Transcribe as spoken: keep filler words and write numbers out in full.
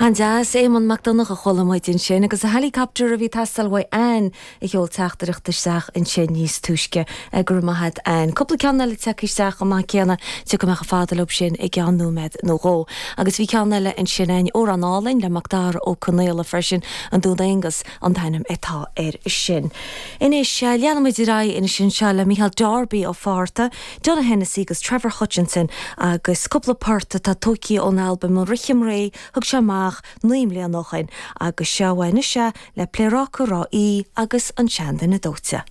An-deas Éamonn Mac Donncha a chuala muid ansin agus a helicopter a bhí ag teastáil uaidh Ann a sheol teachtaireacht isteach ansin níos túisce go raibh maith agat Ann. Cúpla ceann eile tagtha isteach chomh maith céanna tiocfaidh mé chomh fada leo sin i gceann nóiméad nó dhó. Agus bhí ceann eile ansin ann amhrán álainn le Macdara Ó Conaola freisin an Dún Aonghus an t-ainm atá air sin. Anois leanfaimid ar aghaidh ansin seo le Micheál Darby Ó Fátharta, Donogh Hennessy agus Trevor Hutchinson agus cúpla port atá tógtha ón albam an Rithim Réidh thug sé amach naoi mbliana ó shin agus seo anois é le Pléaráca Ráth Í agus an seanduine dóite.